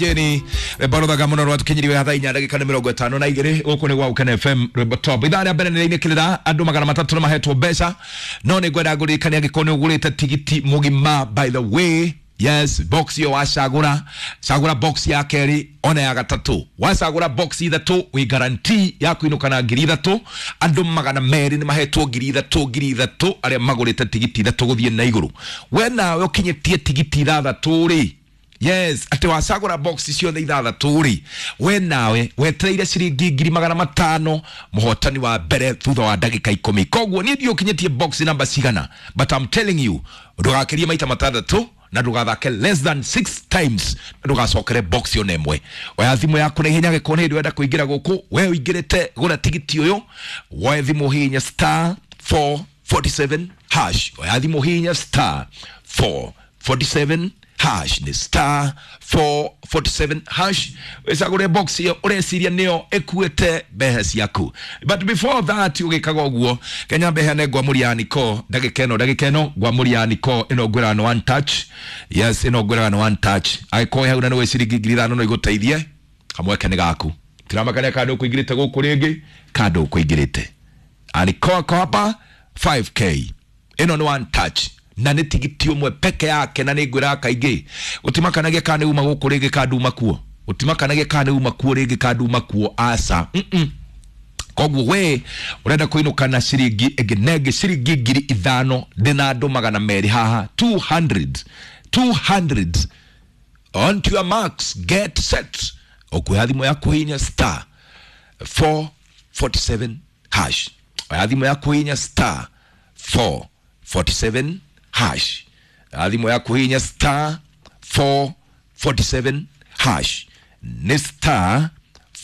Jeni rwimbo ruthaga muno rwatukinyiriwe thaa inya ndagika ni mirongo itano na igiri guku ni gwa Ukene FM rwimbo top. Ithaa ria mbere nĩ andu 300 nĩ mahetwo mbeca, no nĩ ngwenda ngũririkania angĩkorwo nĩ ũgũrĩte tigiti mũgima, by the way, yes, box iyo wacagũra, cagũra box ya kerĩ ona ya gatatũ, wacagũra box ithatũ wĩ guarantee ya kũinũka na 3,000. Andũ 200 nĩ mahetwo 3,000 3,000 arĩa magũrĩte tigiti ithatũ gũthiĩ na igũrũ. We nawe ũkinyĩtie tigiti ithathatũ rĩ, yes, atĩ wacagũra box ciothe ithathatũ rĩ, we nawe wetereire ciringi 500,000 mũhotani wa mbere thutha wa ndagĩka 10. Koguo niĩ ndiũ ũkinyĩtie box namba cigana, but I'm telling you, ndũgakĩrie maita matandatũ na ndũgathake less than 6 times na ndũgacokere box ona ĩmwe. Oya thimũ yaku na ihenya gĩkorwo nĩ hĩndĩ ũrenda kũingĩra gũkũ, we ũingĩrĩte gũra tigiti ũyũ, woe thimũ hihinya star 447 hash. Oya thimũ hihinya star 447 hash, nĩ star 447 hash, wĩcagũre box ĩyo ũreciria nĩyo ĩkuĩte mbeca ciaku. But before that, ũgĩkaga ũguo, kenya mbeheane ngwamũri ya niko ndagĩka ĩno, ndagĩka ĩno ngwamũri ya niko ĩno ngwĩraga nĩ one touch. Yes, ĩno ngwĩraga nĩ one touch. Angĩkorwo hau na nĩ wĩ ciringi 5,000 no igũteithie, kamweke nĩ gaku, tiramakania kana ndũkũingĩrĩte gũkũ rĩngĩ kana ndũkũingĩrĩte. Aniko ako hapa 5K, ĩno nĩ one touch na nĩ tigiti ũmwe peke yake, na nĩ ngwĩraga kaingĩ gũtimakanagia kana nĩ uma gũkũ rĩngĩ kana nduma kuo, gũtimakanagia kana nĩ uma kuo rĩngĩ kana nduma kuo, aca. Koguo we ũrenda kũinũka na ciringi ĩngĩ na ĩngĩ ciringi 5,000, ndĩna andũ 200 haha, 200 200. On to your marks, get set, ũkuoya thimũ yaku hinya star 447 hash. Oya thimũ yaku hinya star 447 hash. Oya thimũ yaku hinya star 447 hash, nĩ star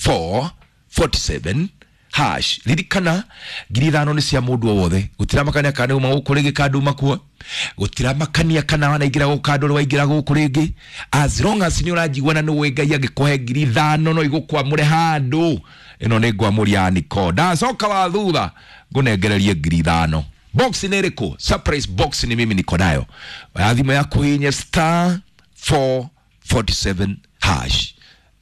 447 hash. Ririkana 5,000 nĩ cia mũndũ o wothe, gũtiramakania kana nĩ uma gũkũ rĩngĩ kana nduma kuo, gũtiramakania kana wanaingĩra gũkũ kana ndũrĩ waingĩra gũkũ rĩngĩ, as long as nĩ ũranjigua na nĩ ũĩ Ngai angĩkũhe 5,000 no igũkwamũre handũ. Ĩno nĩ ngwamũri ya niko, ndacoka wa thutha ngũnengererie 5,000. Box nĩ ĩrĩkũ? Surprise box ni mimi niko nayo. Oya thimũ yaku hinya star 447 hash,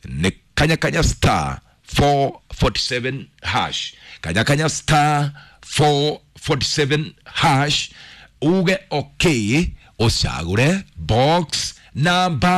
nĩ kanya kanya star 447 hash, kanya kanya star 447 hash, uge okay, ũcagũre box number